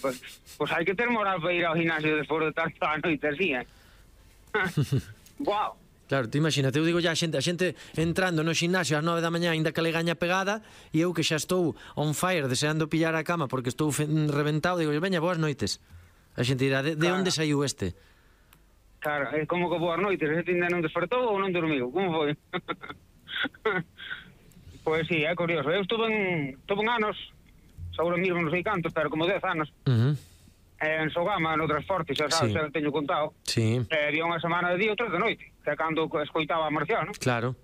Pois hai que ter moral para ir ao gimnasio despois de tanto a noite así, Guau. Claro, te imagínate, eu digo a xente entrando no ximnasio ás 9 da mañá ainda que le gaña pegada, e eu que xa estou on fire deseando pillar a cama porque estou reventado, digo, veña, boas noites. A xente dirá, de onde saiu este? Claro, é como que boas noites, este ainda non despertou ou non dormiu, como foi? Pois sí, é curioso. Eu estuve en anos, seguro mesmo non sei cantos, pero como 10 anos, en Sogama, no transporte, xa sabes, xa teño contado. Sí. Había unha semana de día e outra de noite, que é cando escoitaba a Marciano. Claro.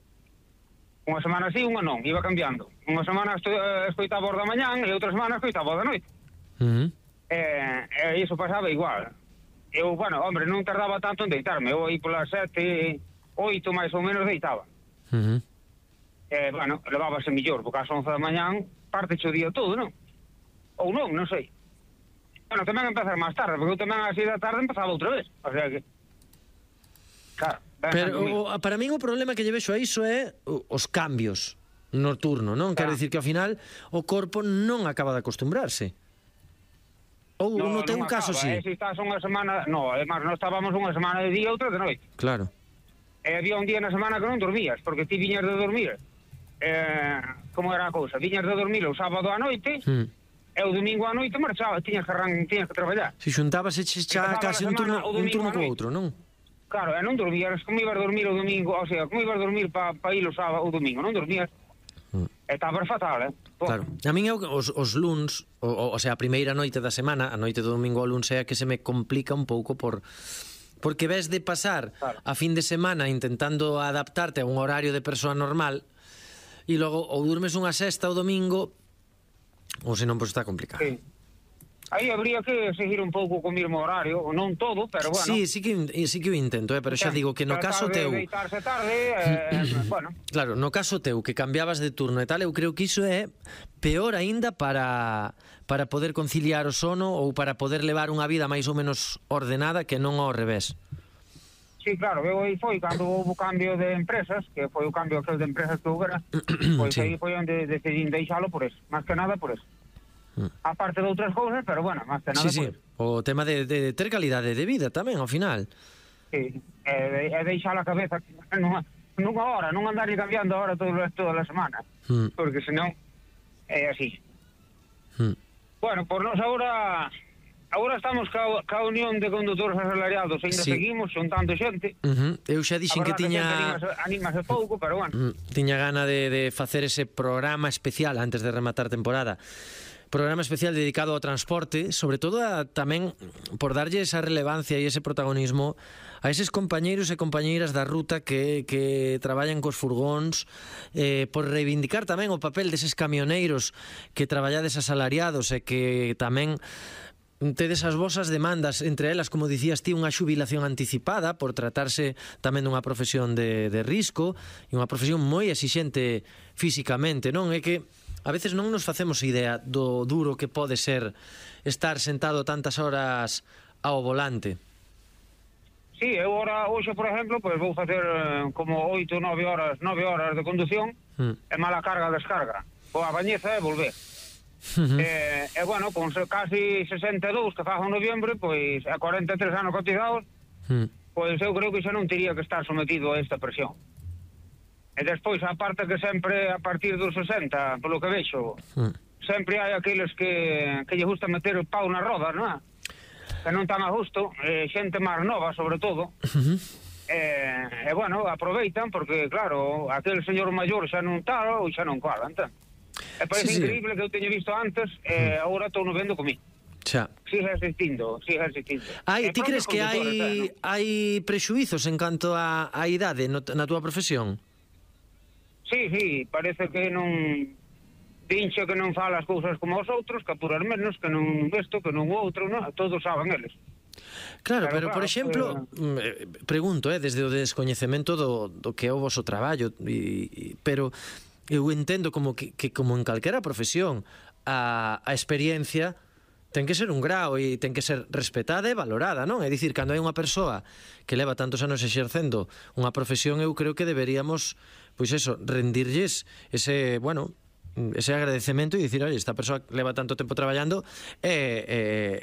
Unha semana así, unha non, iba cambiando. Unha semana escoitaba os da mañán e outra semana escoitaba os da noite. E iso pasaba igual. Eu, bueno, hombre, non tardaba tanto en deitarme. Eu aí polas 7, 8 máis ou menos deitaba. Bueno, levábase millor, porque ás 11 da mañán parte o día todo, non? Ou non sei. Bueno, tamén empezar máis tarde, porque eu tamén a 6 da tarde empezaba outra vez. O sea que... Claro. Pero para min o problema que lle vexo a iso é os cambios nocturno, non? Quero dicir que ao final o corpo non acaba de acostumbrarse. Ou no teu caso si? Se estás unha semana... No, además, non estábamos unha semana de día e outra de noite. Claro. E había un día na semana que non dormías, porque ti viñas de dormir. Como era a cousa? Viñas de dormir o sábado á noite... E o domingo á noite marchaba, tiñas que traballar. Se xuntabas xa case un turno co outro, non? Claro, e non dormías, como ibas dormir o domingo, o sea, como ibas dormir para ir o sábado o domingo, non dormías. E estabas fatal, Claro, a min os luns, o sea, a primeira noite da semana, a noite do domingo ao luns é a que se me complica un pouco porque ves de pasar a fin de semana intentando adaptarte a un horario de persoa normal e logo ou durmes unha sesta o domingo ou senón, pois está complicado. Sí. Aí habría que seguir un pouco co mesmo horario, non todo, pero bueno. Sí que o intento, pero xa digo que no caso teu... Deitarse tarde, bueno. Claro, no caso teu, que cambiabas de turno e tal, eu creo que iso é peor aínda para poder conciliar o sono ou para poder levar unha vida máis ou menos ordenada que non ao revés. Sí, claro, eu aí foi cando houve o cambio de empresas, que foi o cambio aquel de empresas que houbera, pois aí foi onde decidín deixalo por eso, máis que nada por eso. Aparte de outras cousas, pero bueno, máis que nada por eso. O tema de ter calidade de vida tamén, ao final. Sí, e deixar a cabeza nunha hora, non andar cambiando a hora toda a semana, porque senón é así. Bueno, por nós Agora estamos ca Unión de Condutores Asalariados, ainda seguimos xuntando xente. Eu xa dixen que tiña... Anímase pouco, pero bueno. Tiña gana de facer ese programa especial antes de rematar temporada. Programa especial dedicado ao transporte, sobre todo tamén por darlle esa relevancia e ese protagonismo a eses compañeiros e compañeiras da ruta que traballan cos furgóns, por reivindicar tamén o papel deses camioneiros que traballades asalariados e que tamén tedes as vosas demandas, entre elas, como dicías ti, unha xubilación anticipada por tratarse tamén dunha profesión de risco e unha profesión moi exixente físicamente, non? É que a veces non nos facemos idea do duro que pode ser estar sentado tantas horas ao volante. Sí, eu ahora, hoxe, por exemplo, pues vou facer como 8, 9 horas de condución e mala carga, descarga. Vou a bañeza e volver. E bueno, con casi 62 que fago en noviembre, pois a 43 anos cotizados, pois eu creo que xa non teria que estar sometido a esta presión. E despois, aparte que sempre a partir dos 60, polo que vexo, sempre hai aqueles que lle gusta meter o pau na roda, non é? Que non tan a gusto, xente máis nova, sobre todo. E bueno, aproveitan, porque claro, aquel señor maior xa non tal ou xa non cola, entón. E parece increíble que eu teño visto antes e agora estou no vendo comigo. Xa. Sigue existindo. Ti crees que hai prexuizos en canto a idade na túa profesión? Sí, parece que non dinche que non fala as cousas como os outros, que apurar menos, que non isto, que non o outro, non? Todos saben eles. Claro, pero por exemplo, pregunto, desde o descoñecemento do que é o voso traballo, pero eu entendo como que como en calquera profesión a experiencia ten que ser un grao e ten que ser respetada e valorada, non? É dicir, cando hai unha persoa que leva tantos anos exercendo unha profesión, eu creo que deberíamos, pois eso, rendirlles ese agradecemento e dicir, oi, esta persoa leva tanto tempo traballando e